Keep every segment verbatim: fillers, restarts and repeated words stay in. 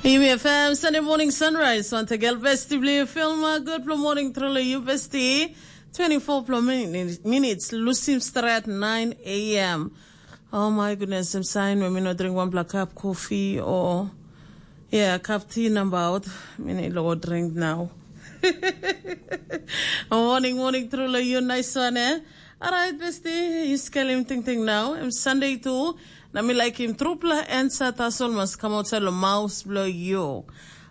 Yumi F M, Sunday morning sunrise. Wantegel besti bli filma. Good morning truly you besti. Twenty-four plo minutes lusim stret nine a.m. Oh my goodness, I'm sign when me no drink one black cup coffee or yeah, cup tea number out. Me need to drink now. Morning, morning truly you nice one, eh? Alright, besti, you skelim ting ting now. I'm Sunday too. Na mi like him trupla and sa tasol mas come outside lo mouse blo you.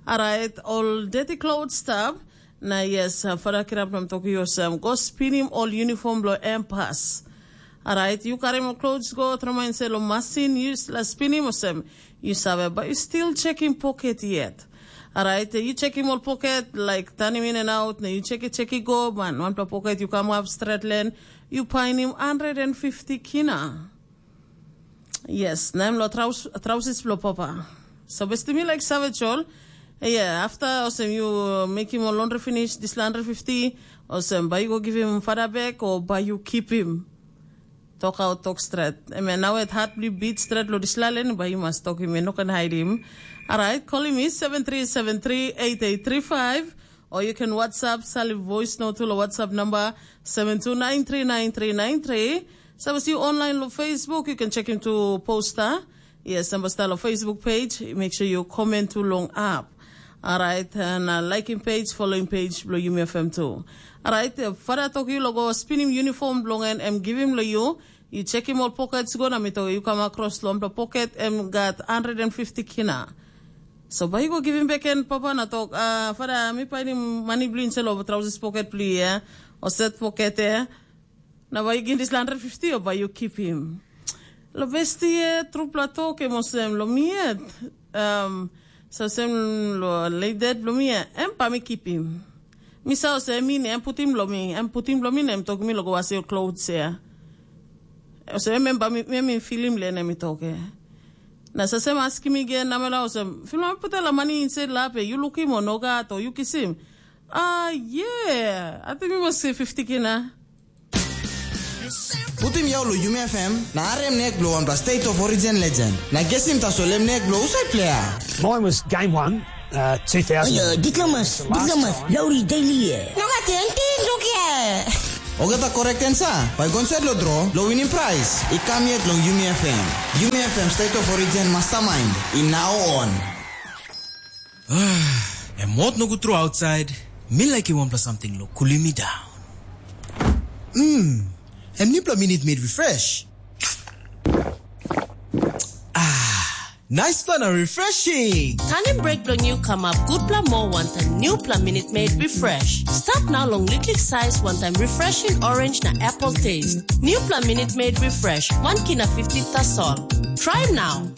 Alright, all dirty clothes stuff. Na yes, uh, fada kirap nam toki yosem. Go spin him all uniform blo empas. Alright, you carry him clothes go trama and say lo masin, you la spin him osem. You save, but you still check him pocket yet. Alright, you check him all pocket, like turn him in and out. Na you check it, check it go, man. One pocket, you come up straight lane. You find him hundred and fifty kina. Yes, na em lo traus, trausis blo papa. So besti mi like savage all. Yeah, after osem you make him a laundry finish, this hundred fifty, osem by you go give him father back or by you keep him. Talk out, talk straight. I mean, now it hard to beat straight lo this lalen, but you must talk him, you no can hide him. All right, call him is seven three seven three eight eight three five. Or you can WhatsApp, send a voice note to the WhatsApp number seven two nine three nine three nine three. So I see you online on Facebook, you can check him to poster. Yes, number style of Facebook page. Make sure you comment to long up. All right, and uh, liking page, following page, below Yumi F M too. All right, uh, Father Toki logo spin him uniform belong and em give him lo you. You check him all pockets go na mi to you come across lo the pocket em got hundred and fifty kina. So bai go give him back and papa na talk, uh, Father, mi painim money blue in selo trousers pocket blue, yeah? Or set pocket, yeah? Na bai you give this hundred fifty or bai you keep him? Lo besti, yeah, trupla talk em osem lo mi yet. Um, so sem lo late dead lo mi yet. Em pa mi keep him. Mi sa osem mi ne em putim lo mi, em putim lo mi na em talk mi lo go was your clothes, yeah. Osem em ba mi, mi, mi filim le na mi talk, yeah. Na sasem askim mi gen namela osem, film am putela money inside lap, eh, you look him or no gat or you kiss him? Ah, yeah. I think we must say fifty kina. Putim yau lo Yumi F M, na arem nek blo wanpela State of Origin legend. Na gesim tasol em nek blo usai player. Mine was game one, uh, two thousand. Hello, diplomas, diplomas, Lowry Daily. No gat anything, look here. Ogata correct answer, bai go inside lo draw, lo winning prize. I kam yet long Yumi F M. Yumi F M State of Origin Mastermind, i now on. Em hot nogut tru outside. Mi like wanpela something lo cooling me down. Mm, em nipla minute made refresh. Ah, nice fun and refreshing. Tanim break bilong yu kamap gutpela moa wantaim newpela Minute Maid Refresh. Start now long liklik size wantaim refreshing orange na apple taste. Newpela Minute Maid Refresh, one kina fifty tasol. Try now.